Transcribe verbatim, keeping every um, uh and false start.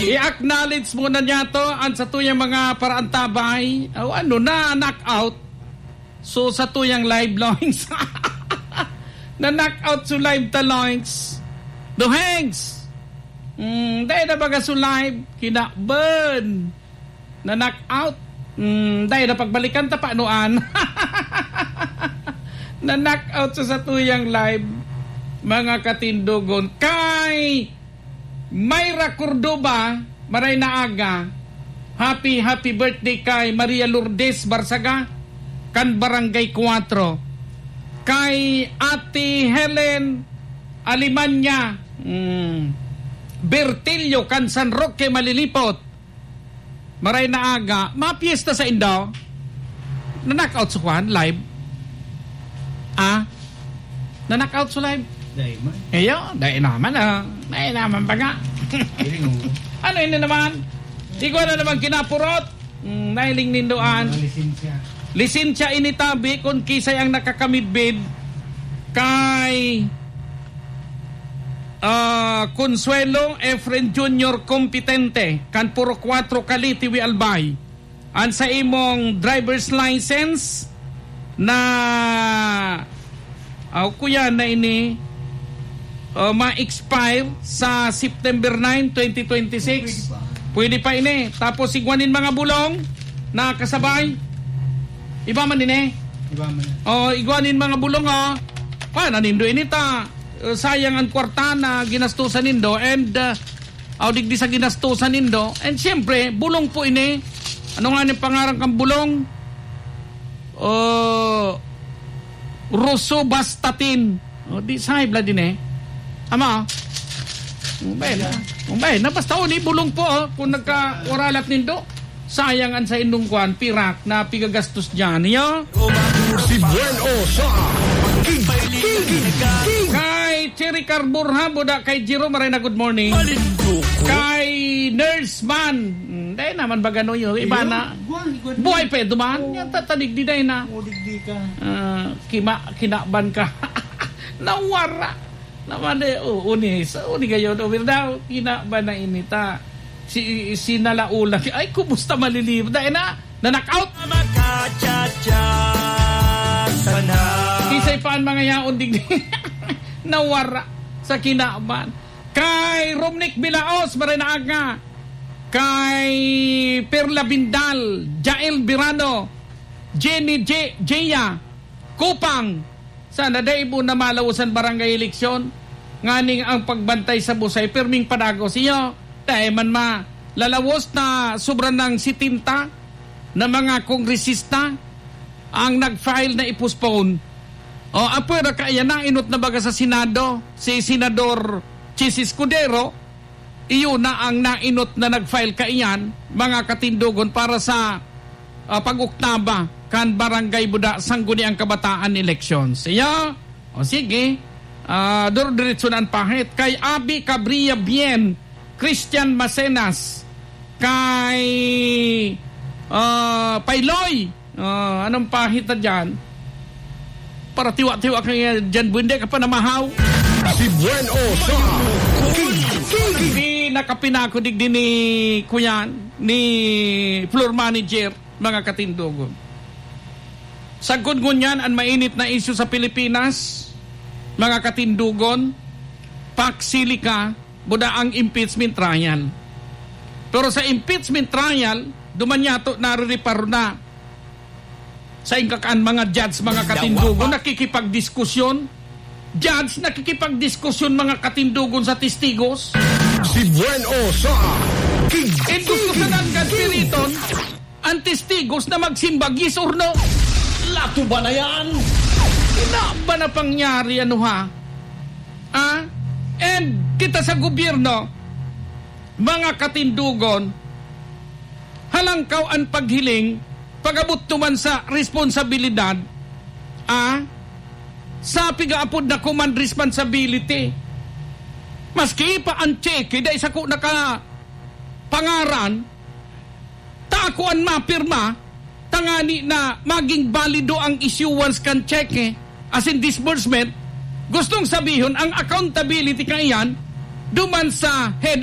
I-acknowledge muna niya to ang satuyang mga paraantabay. O ano na, knockout. So, satuyang live, Loings. Na-knockout so live ta, Loings. Dohengs! Mm, dai na baga so live. Kinaban. Na-knockout. Mm, dai na pagbalikan ta, paanoan. Na-knockout sa satuyang live, mga katindogon. Kay Myra Cordova, maray na aga. Happy, happy birthday kay Maria Lourdes Barsaga, kan Barangay Cuatro. Kay Ate Helen Alemania, mm, Bertillo, kan San Roque, Malilipot. Maray na aga, mapiyesta sa indo. Na-knockout sa kwan, live. Ah? Na-knockout sa live. Dai man. Ayo, dai naman, ah. Dai naman pa nga. Dili mo. Ano ini naman? Ikaw na naman kinapurot. Mm, nahiling nindoan. Mga lisensya. Lisensya ini tabi kung kisay ang nakakamidbid kay, ah, Consuelo Efren Junior Competente, kan Purok Cuatro, Kalitiwi, Albay. An sa imong driver's license na, aw, kuya, na ini, uh, ma-expire sa September nine, twenty twenty-six. Pwede pa. Pwede pa ini. Tapos igwa nin mga bulong na kasabay. Iba man ini. Iba man. Oh, igwa nin mga bulong, oh. Pa, nanindo ini ta. Uh, sayang ang kwarta na ginastusan nindo and, uh, aw digdi sa ginastusan nindo. And siyempre, bulong po ini. Ano nga ni pangaran kang bulong? Oh, rosuvastatin. Oh, di sa high blood din eh. Ama, oh. Umbay na. Umbay na. Basta, oh, di bulong po, oh. Kung nagkawaralat nindo, sayang ang sa indong kwan, pirak na pigagastos dyan. Iyo? Si Buen O sa King, King, King. Kay Cherry Carbur, ha, buda kay Jiro Marena, good morning. Kay Nurse Man. Hmm, dai naman ba gano'n yun? Iba na. Buhay pa yun, duman. Yan, tatanig di dai na. O, digdi ka. Ah, kima-, kinaban ka. Nawara. Naman eh, o, uni, sa uni kayo, no, daw, kinaban na inita. Si, si Nalaula, ay, kumusta malilib? Dai na, na-knockout. Makachat-chat sana. Kisay pa ang mga yaon, digdi. Nawara sa kinaban. Kay Romnick Bilaos, maray na aga. Kay Perla Bindal, Jael Birano, Jenny J-, Jaya, Kupang, sana dai mo na malawosan barangay eleksyon, nganing ang pagbantay sa busay, pirming padagos iyo. Dai man ma, lalawos na sobra ng setenta na mga kongresista ang nag-file na i-postpone. O, apwera kaya nainot na baga sa Senado si Senador Chiz Escudero, iyo na ang nainot na nag-file kaiyan, mga katindogon, para sa, ah, pag-oktaba kan Barangay Buda Sangguniang Kabataan Elections. Iya? O sige, ah, duro-diretso na ang pahit. Kay Abi Cabria Bien, Christian Macenas, kay, ah, Pailoy, Ah, anong pahit na dyan? Para tiwa-tiwa ka nga dyan, buwende ka pa namahaw. Si Buen O sa King, King. Di nakapinako digdi ni Kuyan, ni floor manager, mga katindogon. Sagkod ngunyan, ang mainit na isyu sa Pilipinas, mga katindogon, paksili ka, buda ang impeachment trial. Pero sa impeachment trial, duman yato narireparo na. Sa ingkakaan, mga judge, mga katindugo, nakikipagdiskusyon. Judge, nakikipagdiskusyon, mga katindugon, sa testigos. Si Buen O sa King. And gusto ka ng kaspiriton, ang testigos na magsimbag, yes or no? Lato ba na yan? Ina ba na pangyari, ano ha? Ah? And kita sa gobyerno, mga katindugon, halangkaw an paghiling, pag-abot duman sa responsabilidad, ah, sa pigaapod na command responsibility. Maski pa an tseke, dai sako nakapangaran, ta ako an mapirma, tangani na maging balido ang issuance kan tseke, as in disbursement, gustong sabihon, ang accountability kaiyan, duman sa head